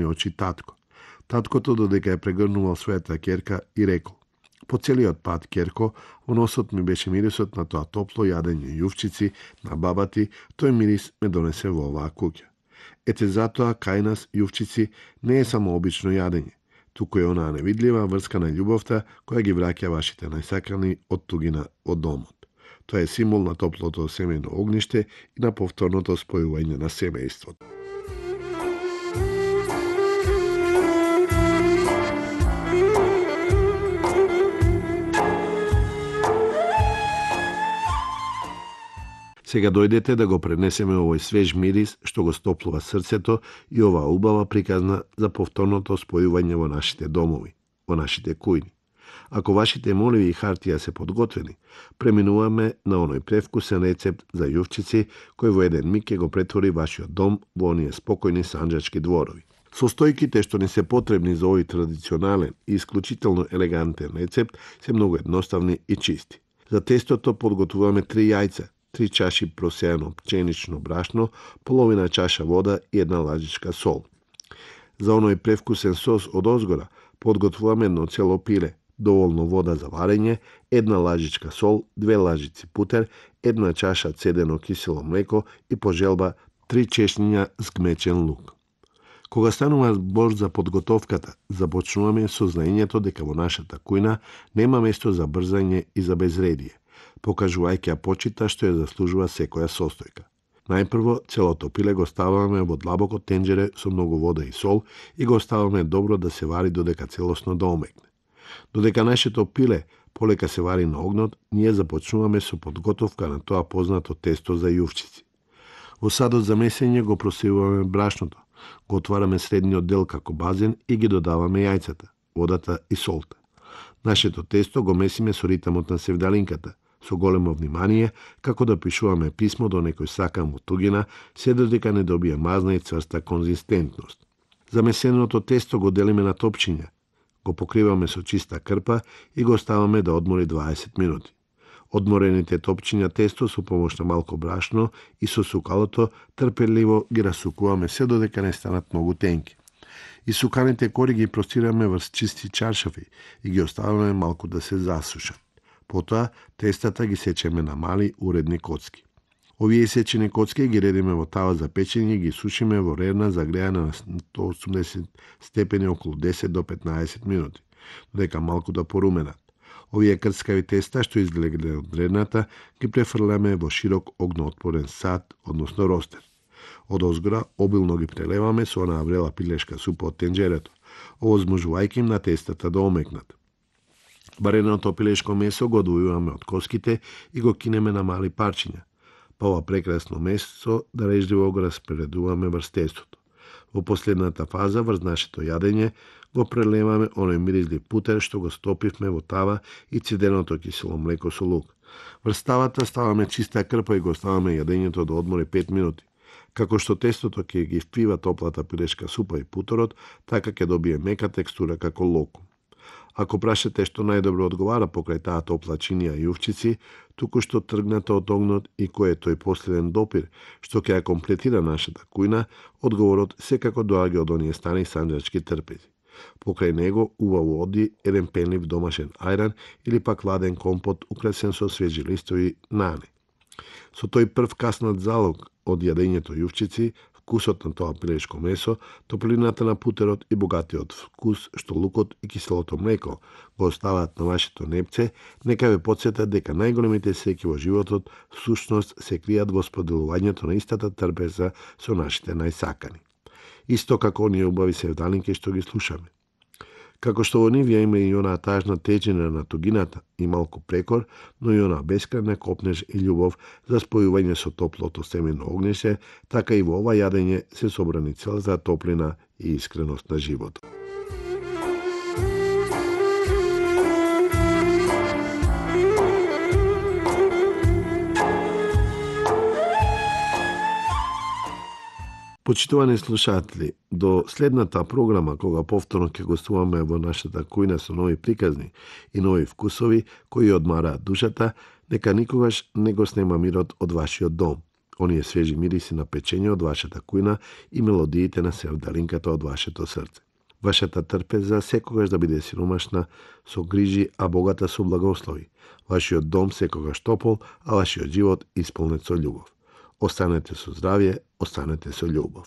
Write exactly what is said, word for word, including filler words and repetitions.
очи татко. Таткото додека ја прегрнувал својата ќерка и рекол: по целиот пат, ќерко, во носот ми беше мирисот на тоа топло јадење јувчици на баба ти, тој мирис ме донесе во оваа куќа. Ете затоа кај нас јувчици не е само обично јадење, туку е онаа невидлива врска на љубовта која ги враќа вашите најсакани од тугина од домот. Тоа е символ на топлото семејно огниште и на повторното спојување на семејството. Сега дојдете да го пренесеме овој свеж мирис што го стоплува срцето и оваа убава приказна за повторното спојување во нашите домови, во нашите кујни. Ако вашите моливи и хартија се подготвени, преминуваме на оној превкусен рецепт за јувчици кој во еден миг ќе го претвори вашиот дом во оние спокојни санџачки дворови. Состојките што ни се потребни за овој традиционален и исклучително елегантен рецепт се многу едноставни и чисти. За тестото подготвуваме три јајца, три чаши просеано пченично брашно, половина чаша вода и една лажичка сол. За оној превкусен сос од озгора подготвуваме едно цело пиле, доволно вода за варење, една лажичка сол, две лажици путер, една чаша цедено кисело млеко и по желба три чешњиња згмечен лук. Кога станува збор за подготовката, започнуваме со знаењето дека во нашата кујна нема место за брзање и за безредие, покажувајќи ја почита што ја заслужува секоја состојка. Најпрво, целото пиле го ставаме во длабоко тенџере со многу вода и сол и го оставаме добро да се вари додека целосно да омекне. Додека нашето пиле полека се вари на огнот, ние започнуваме со подготовка на тоа познато тесто за јувчици. Во садот за месење го просевуваме брашното, го отвараме средниот дел како базен и ги додаваме јајцата, водата и солта. Нашето тесто го месиме со ритамот на севдалинката, со големо внимание, како да пишуваме писмо до некој сакан во тугина, се додека не добие мазна и цврста конзистентност. Замесеното тесто го делиме на топчиња, го покриваме со чиста крпа и го оставаме да одмори дваесет минути. Одморените топчиња тесто со помош на малку брашно и со сукалото трпеливо ги расукуваме се додека не станат многу тенки. И суканите кори ги простираме врз чисти чаршафи и ги оставаме малку да се засушат. Потоа тестата ги сечеме на мали уредни коцки. Овие сечени коцки ги редиме во тава за печење и ги сушиме во рерна загреана на сто и осумдесет степени околу десет до петнаесет минути, додека малку да поруменат. Овие крцкави теста што излегле од рерната ги префрляме во широк огноотпорен сад, односно ростер. Од озгора обилно ги прелеваме со онаа врела пилешка супа од тенџерето, овозможувајќи им на тестата да омекнат. Вареното пилешко месо го одвојуваме од коските и го кинеме на мали парчиња, па ова прекрасно месо да режливо го распредуваме врз тестото. Во последната фаза врз нашето јадење го прелеваме оној миризлив путер што го стопивме во тава и цеденото кисело млеко со лук. Врз тавата ставаме чиста крпа и го оставаме јадењето да одмори пет минути. Како што тестото ќе ги впива топлата пилешка супа и путорот, така ќе добие мека текстура како локум. Ако прашате што најдобро одговара покрај таа топла чинија јувчици, туку што тргната од огнот и кој е тој последен допир што ќе ја комплетира нашата кујна, одговорот секако доаѓа од оние стани санџачки трпези. Покрај него убаво оди еден пенлив домашен ајран или пак ладен компот украсен со свежи листови нане. Со тој прв каснат залог од јадењето јувчици, вкусот на тоа пилешко месо, топлината на путерот и богатиот вкус што лукот и киселото млеко го оставаат на вашето непце, нека ве потсетат дека најголемите среќи во животот всушност се кријат во споделувањето на истата трпеза со нашите најсакани. Исто како оние убави севдалинки што ги слушаме. Како што во нив ја има и онаа тажна тежина на тугината и малку прекор, но и онаа бескрајна копнеж и љубов за спојување со топлото семено огнише, така и во ова јадење се собрани целата топлина и искреност на животот. Почитувани слушатели, до следната програма, кога повторно ќе гостуваме во нашата кујна со нови приказни и нови вкусови кои одмараат душата, нека никогаш не го снема мирот од вашиот дом. оние свежи мириси на печење од вашата кујна и мелодиите на севдалинката од вашето срце. Вашата трпеза секогаш да биде сиромашна со грижи, а богата со благослови. Вашиот дом секогаш топол, а вашиот живот исполнет со љубов. Останете со здравје, останете со љубов.